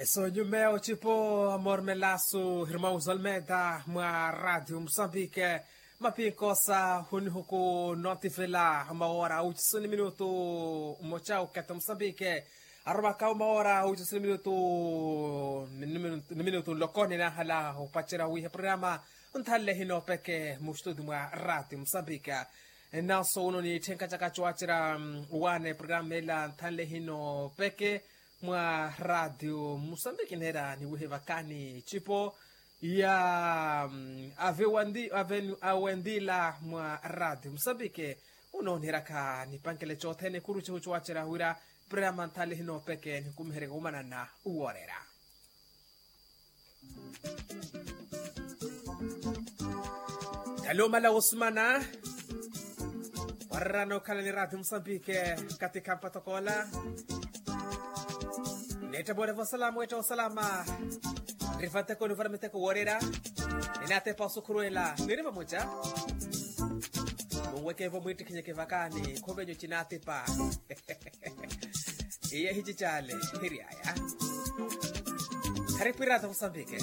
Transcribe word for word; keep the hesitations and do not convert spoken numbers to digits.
Esonyume ocipo amor melasu hirmãos almeda mwa radio musambike. Mapinkosa hunihuku notifela maora ucisu ni minutu mmoca ukete musambike. Aromaka umaora ucisu ni minutu ni minutu nloko ninahala upacerya wihe programa nthanle hino peke mustudi mwa radio musambike. Nanso uno ni itthenka caka cowacerya wane programa ela nthanle hino peke mwa radio musambiki neera niwihe vakani cipo ya awe wandila mwa radio musambiki. Uno niiraka nipankele cothene kuru cihu cowacerya wira programa nthanle hino peke nikumihereke wumanana uwoorera. Talumala wosumana warerana okhala ni radio musambike. Katika mpatokoola neetta morevo salama wetta osalama. Niriva nteko nivara miteko woorera. Ninaatepa osukhurwela niriva muca. Munwekevo mwiittikhinyeke vakani khuvenyu cinaatepa. Iye hici cale hiryaya. Kharipwirata musambike.